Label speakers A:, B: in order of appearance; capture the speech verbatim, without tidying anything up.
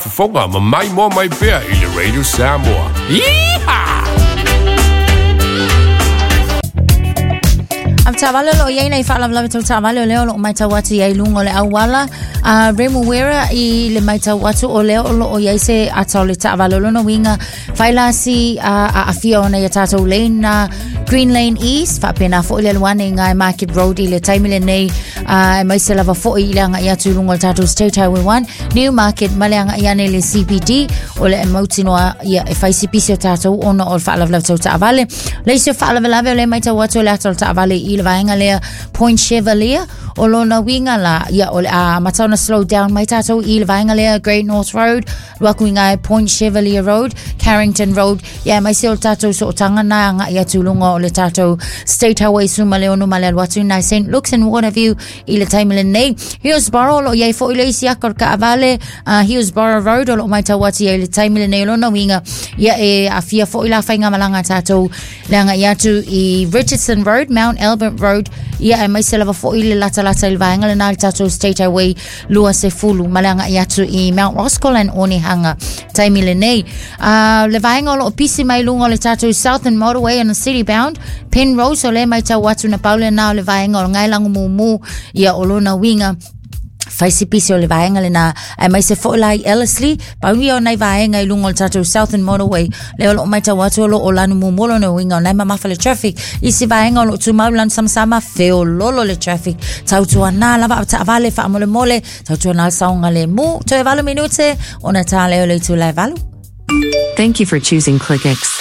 A: Fofoga ma maimoa mai pea i le Radio Samoa. Yeehaw!
B: Avetaavale o loo iai nai faalavelave tau taavale o lea o loo matau atu iai luga o le auala a Remuera i le matau atu o lea o loo iai se ata o le taavale. O lona uiga failasi aafia ona ia tatou lane na Green Lane East faapena foʻi le alu ane i gai Market Road i le taimi lenei, aemaise lava foʻi i le agaʻi atu i luga o le tatou State Highway one New Market ma le agaʻi ane i le C B D o le mautinoa ia e fai sipisi o tatou ona o le faalavelave tau taavale. Le isi o faalavelave o le matau atu o le ata o le taavale i le vaega lea Point Chevalier. O lona uiga la ia o le a amata ona slow down mai tatou i le vaega lea Great North Road alu atu i gai Point Chevalier Road, Carrington Road, ia aemaise o le tatou sootaga na agaʻi atu i luga o le tatou State Highway suma le ono ma le alu atu i Saint Luke's and Waterview i le taimi lenei. Hillsborough o loo iai foʻi le isi aka o le kaavale uh, Hillsborough Road o loo matau atu iai le taimi lenei. O lona uiga ia e afia foʻi la faigamalaga tatou le agaʻi atu i Richardson Road, Mount Albert Road, ia aemaise lava foʻi le latalata i le vaega lena le tatou State Highway lua sefulu ma le agaʻi atu i Mount Roskill and Onehunga taimi lenei. uh, le vaega o loo pisi mai luga o le tatou Southern Motorway and the city bound Penrose o le matau atu na pau lena o le vaega o le gaelagu mumu. Ia o lona uiga faisipisi o le vaega lena aemaise foʻi la i Ellerslie. Pau ia o nai vaega i luga o le tatou Southern Motorway lea o loo matau atu o loo o lanu mumu. Lona uiga o nai mamafa le traffic. Isi vaega o loo tumau lanu samasama feololo le traffic. Tautuanā lava taavale faamolemole, tautuanā le saogalemu. Toe valu minute ona tā lea o le itula e valu.
C: Thank you for choosing ClickX.